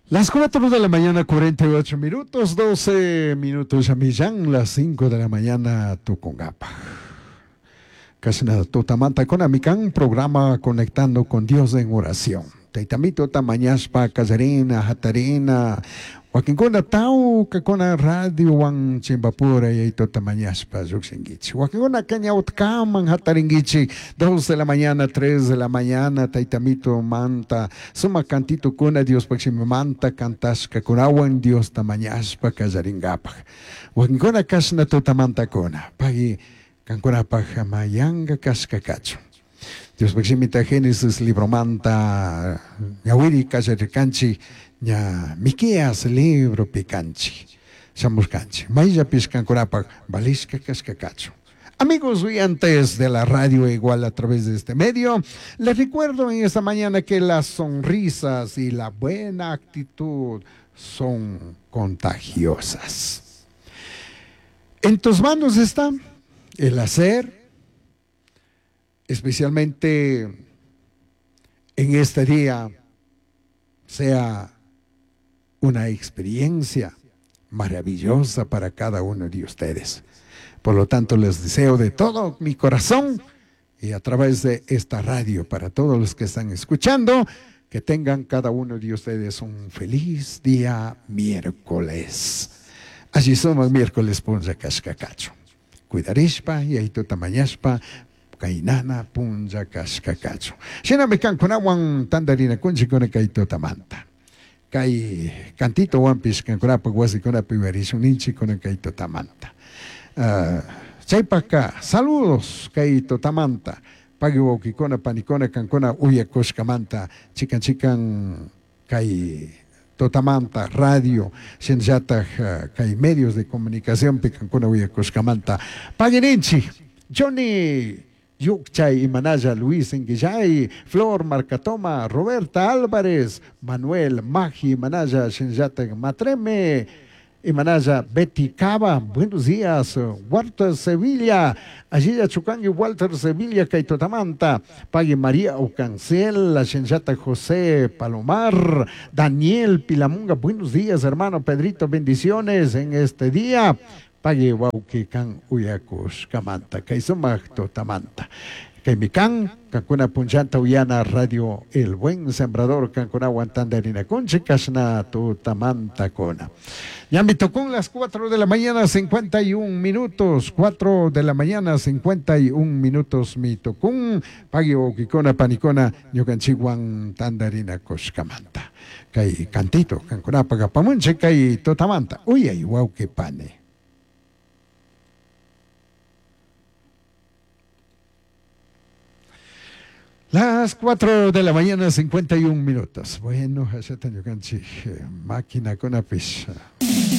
Las 4 de la mañana, 48 minutos, 12 minutos ya millán, las 5 de la mañana, Tucungapa. Casi nada, tutamanta con Amicán, programa Conectando con Dios en oración. Taitamito tamañaspa, Casarina, Jatarina, Wakinkuna tawka kuna radio wan chimbapura y totamañaspa llukshinkichik. Wakinkuna kañawtkaman hatarinkichik 2 de la mañana, 3 de la mañana, taytamito manta, sumak cantito kuna Diospaj shimimanta cantashkakunawan Dios tamañaspa kallarinkapak. Wakinkuna kashna tutamantakuna, pagui kankunapaj mayanga kashka kachun. Diospaj shimita Génesis libromanta ñawiri kallarirkanchik ña Miqueas libro picanchi, shamushkanchik. Mayllapish kankunapaj valishka kashka kachun. Amigos oyentes de la radio igual a través de este medio, les recuerdo en esta mañana que las sonrisas y la buena actitud son contagiosas. En tus manos está el hacer, especialmente en este día, sea una experiencia maravillosa para cada uno de ustedes. Por lo tanto, les deseo de todo mi corazón y a través de esta radio para todos los que están escuchando, que tengan cada uno de ustedes un feliz día miércoles. Allí somos miércoles punlla kashka kachun. Cuidarishpa y ahí tutamañashpa kainana punlla kashka kachun. Shinami kankunawan tandarinakunchik kay tutamanta. Kay cantito wanpish kankunapaj wasikunapi uyarishun ninchik kunan kay tutamanta. Chaypaka saludos kay tutamanta. Pagui wawkikuna panikuna kankuna uyakushkamanta chikan chikan kay tutamanta radio shinallataj kay medios de comunicación pi kankuna uyakushkamanta. Pagui ninchik Johnny Yukchay, Imanaya, Luis Inguillay, Flor Marcatoma, Roberta Álvarez, Manuel Magi, Imanaya, Shinyatek Matreme, Imanaya, Betty Cava, buenos días, Walter Sevilla, allí ya Chucangui, Walter Sevilla, Kaitotamanta, Pagui María Ocancel, la Shinyata José Palomar, Daniel Pilamunga, buenos días, hermano Pedrito, bendiciones en este día. Pagui wauki kan uyakush kamanta, kaysumaq tutamanta. Kaymi kan, kankuna punllanta uyana radio El Buen Sembrador, kankunawan tandarinakunchik, kashna tutamanta kuna. Ya me tocó las 4 de la mañana, 51 minutos, 4 de la mañana, 51 minutos, mi tocún, pagui wawkikuna, panikuna, ñukanchikwan tandarinakushkamanta. Kay cantito, kankunapaq apamunchik, kay tutamanta, uyay wawqi pani. Las 4 de la mañana, 51 minutos. Bueno, allá ñukanchik máquina kunapish.